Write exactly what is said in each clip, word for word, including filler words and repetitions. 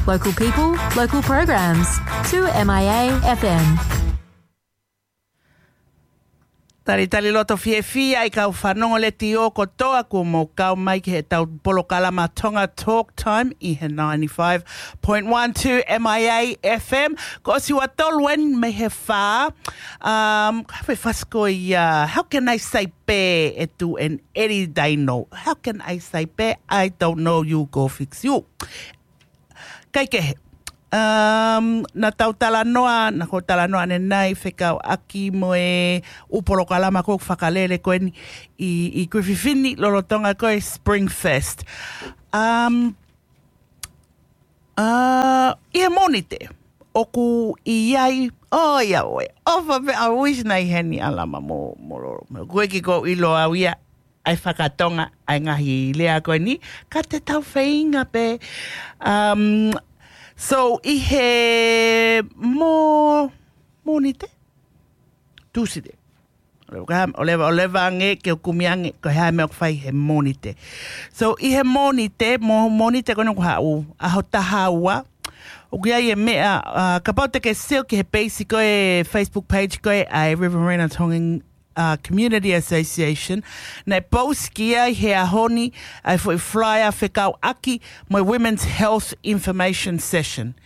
Local people, local programs. Two M I A F M. Talitali loto fiefia ʻa e kau fanongo letiō kotoa kuo mou kau mai ki heʻetau polokalama Tonga Talk Time ʻi he ninety-five point one two M I A F M. Ko Siua Tolueni mei he fā. Um, ka fai fasi ko ia, how can I say pē e tu en eri daino? How can I say pē, I don't know, you go fix you. Kaikehe. Um, naʻa tau talanoa, naʻa ko e talanoa ʻanenai fekauʻaki mo e ʻū polokalama ko ē fakalele ko eni ʻi, ʻi Kuififini lolotonga ko e Spring Fest. Um, uh, ʻi he Mōnite, ʻoku ʻi ai, ʻo ia ʻoe, ʻofa pē ʻa Uisi nai heni ʻa Lama mo, mo Lolo. Mo, ko e kiʻi ko ʻilo au ia, ʻa e fakatonga ʻa e ngaahi lea ko eni, ka te tau feinga pē. Um, so, ʻi he Mō-, Mōnite? Tūsite. ʻO leva, ʻo leva ange ke u kumi ange, ko e hā e meʻa ʻoku fai he Mōnite. So, ʻi he Mōnite, Mō-, Mōnite ko eni ʻoku haʻu, ʻaho taha ua, ʻoku ʻi ai e meʻa, uh, kapau te ke sio ki he peisi ko e Facebook page ko e ʻa e Riverina Tongan uh, Community Association, naʻe post ki ai he ʻaho ni ʻa e foʻi flyer fekauʻaki mo e Women's Health Information Session.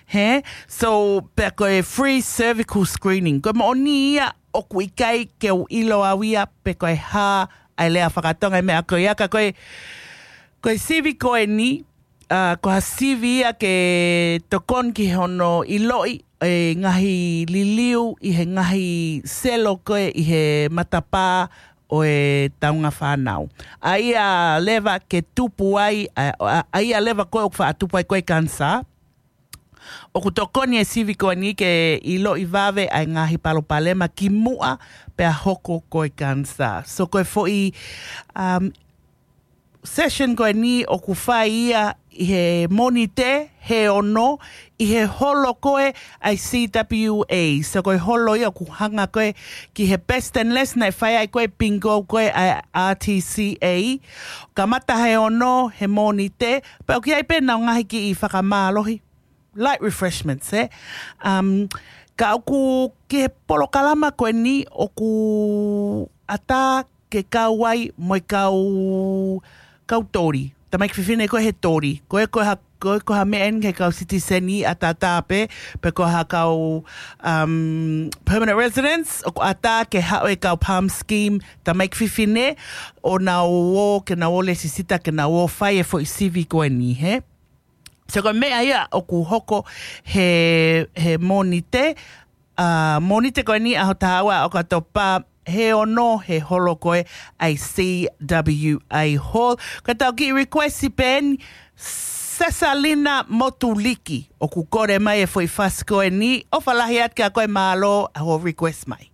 He? So, pea ko e free cervical screening. Ko e moʻoni ia ʻoku ʻikai ke u ʻilo au ia pe ko e hā ʻa e lea fakatonga e meʻa ko ia ka ko e, ko e sivi ko eni, uh, ko ha sivi ia ke tokoni ki hono ʻiloʻi e ngaahi liliu ʻi he ngaahi selo ko ē ʻi he matapā ʻo e taunga fānau. ʻA ia leva ke tupu ai, ʻa, ʻa, ʻa ia leva ko ē ʻoku faʻa tupu ai ko e kanisā. ʻOku tokoni e sivi ko eni ke ʻiloʻi vave ʻa e ngaahi palopalema kimuʻa pea hoko ko e kanisā. So ko e foʻi, um, session ko eni ʻoku fai ia ʻi he Mōnite he ono ʻi he holo ko ē ʻa e C W A. So ko e holo ia ʻoku hanga ko ē ki he Besteness naʻe fai ai ko e bingo ko ē ʻa e R T C A. Kamata he ono he Mōnite, pea ʻoku ʻi ai pē ʻenau ngaahi kiʻi fakamālohi. Light refreshments, eh? Um, ka ʻoku ki he polokalama ko eni ʻoku ʻatā ke kau ai mo e kau, kau toli. Tamaiki fefine ko ē he toli. Ko e ko ha, ko e ko ha meʻa eni he kau sitiseni ʻataʻatā pē, pe ko ha kau, um, permanent residents, ʻoku ʻatā ke haʻu e kau PALM scheme, tamaiki fefine, ʻo nau ō, ke nau ō lēsisita, ke nau ō fai e foʻi sivi ko eni, he? So ko e meʻa ia ʻoku hoko he, he Mōnite, uh, Mōnite ko eni ʻaho taha ua ʻo ʻOkatopa he ono he holo ko ē ʻa e C W A Hall. Ko ʻetau kiʻi request pē eni, Sesalina Motuliki, ʻoku kole mai e foʻi fasi ko eni, ʻofa lahi atu kia koe, mālō hoʻo request mai.